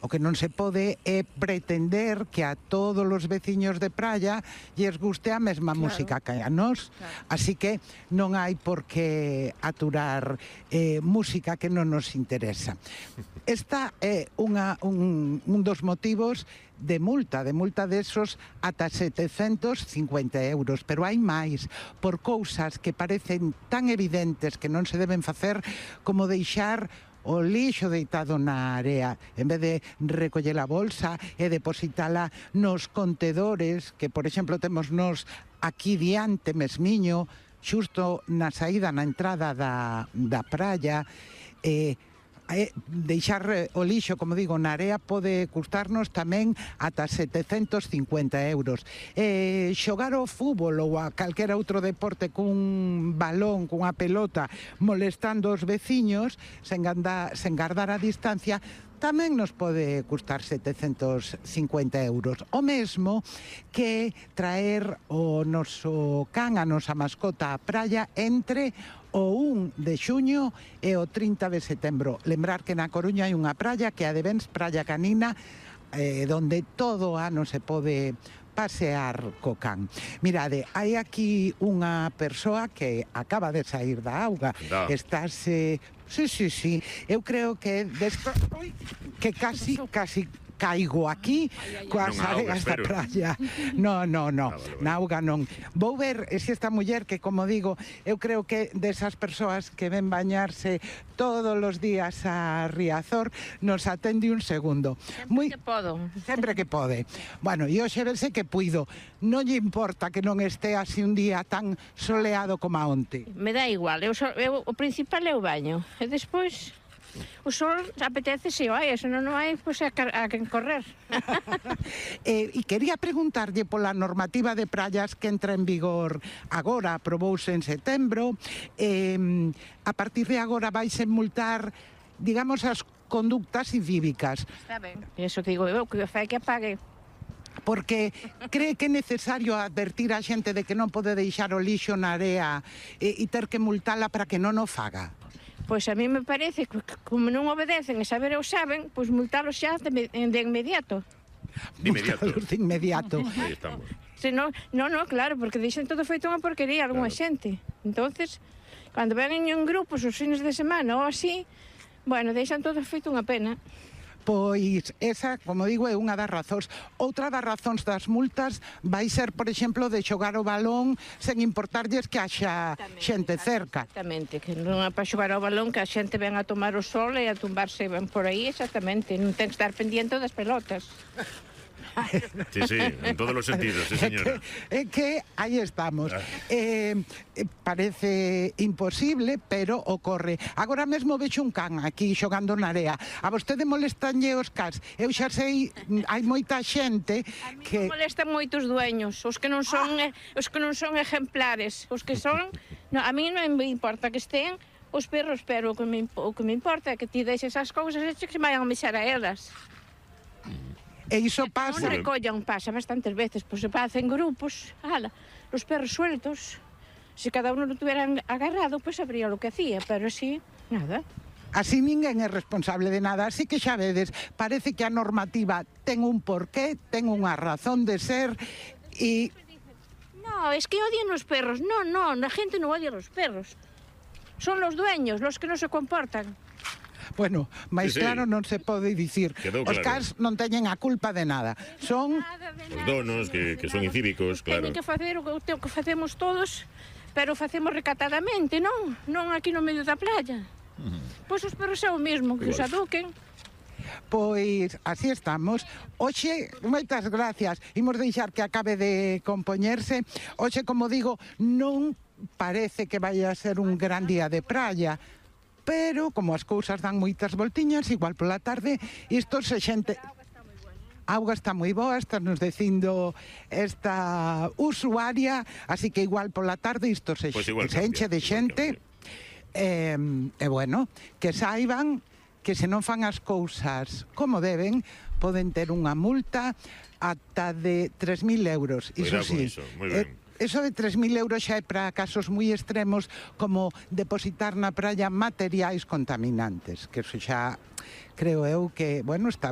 O que non se pode é pretender que a todos os veciños de praia lles guste a mesma música que a nós. Así que non hai por que aturar música que non nos interesa. Esta é un dos motivos de multa desos ata 750 euros, pero hai máis, por cousas que parecen tan evidentes que non se deben facer como deixar o lixo deitado na area, en vez de recoller a bolsa e depositala nos contedores, que, por exemplo, temos nos aquí diante mesmiño, xusto na saída, na entrada da praia, deixar o lixo, como digo, na area pode custarnos tamén ata 750 euros. Xogar ao fútbol ou a calquera outro deporte cun balón, cunha pelota, molestando os veciños, sen gardar a distancia, tamén nos pode custar 750 euros. O mesmo que traer o noso can, a nosa mascota á praia entre o 1 de xuño e o 30 de setembro. Lembrar que na Coruña hai unha praia que é a de Bens, Praia Canina, donde todo o ano se pode pasear co can. Mirade, hai aquí unha persoa que acaba de sair da auga. Estáse... Sí. Eu creo que casi caigo aquí coas areas da praia. No, na auga non. Vou ver se esta muller que, como digo, eu creo que desas persoas que ven bañarse todos os días a Riazor, nos atende un segundo. Sempre que pode. Bueno, e hoxe verse que puido. Non lle importa que non este así un día tan soleado como a onte. Me dá igual, o principal é o baño. E despois... O sol apetece se o hai, se non hai, pois a quen correr. E quería preguntarlle pola normativa de praias que entra en vigor agora, aprobouse en setembro. A partir de agora vaise multar, digamos, as conductas incívicas. Está ben. Iso que digo eu, que fai que apague. Porque cree que é necesario advertir a xente de que non pode deixar o lixo na area e ter que multala para que non o faga. Pois a mí me parece que como non obedecen e saber o saben, pois multalos xa de inmediato. Multalos de inmediato. Aí estamos. Non, claro, porque deixan todo feito unha porquería algunha xente. Entonces, cando ven en grupos os fines de semana ou así, bueno, deixan todo feito unha pena. Pois esa, como digo, é unha das razóns. Outra das razóns das multas vai ser, por exemplo, de xogar o balón sen importarlles que haxa xente cerca. Exactamente, que non é para xogar o balón, que a xente ven a tomar o sol e a tumbarse por aí, exactamente. Non ten que estar pendiente das pelotas. Sí, en todos os sentidos, sí, señora. É que aí estamos. Parece imposible, pero ocorre. Agora mesmo vexo un can aquí xogando na area. A vostede molestanlle os cans. Eu xa sei, hai moita xente que... A mí molestan moitos dueños, os que non son ejemplares, os que son... A mí non me importa que estén os perros, pero o que me importa é que ti deixes as cousas e que se vayan a mexer a elas. E iso pasa... Non recollan, pasa bastantes veces, pois se facen grupos, os perros sueltos, se cada uno lo tuvieran agarrado, pois sabría lo que hacía, pero así, nada. Así ninguén é responsable de nada, así que xa vedes, parece que a normativa ten un porqué, ten unha razón de ser e... No, es que odian os perros, no, la gente non odia os perros. Son los dueños, los que non se comportan. Bueno, máis claro non se pode dicir. Os cans non teñen a culpa de nada. Son os donos que son incívicos, claro. Teñen que facer o que facemos todos, pero facemos recatadamente, non? Non aquí no medio da playa. Pois os perros é o mesmo, que os aduquen. Pois así estamos. Hoxe, moitas gracias. Imos deixar que acabe de compoñerse. Hoxe, como digo, non parece que vai a ser un gran día de praia, pero como as cousas dan moitas voltiñas, igual pola tarde, isto se xente... A auga está moi boa, está nos dicindo esta usuaria, así que igual pola tarde isto se enche de xente. E bueno, que saiban que se non fan as cousas como deben, poden ter unha multa ata de 3.000 euros. Iso sí. Eso de 3.000 euros xa é para casos moi extremos, como depositar na praia materiais contaminantes, que eso xa creo eu que, bueno, está ben.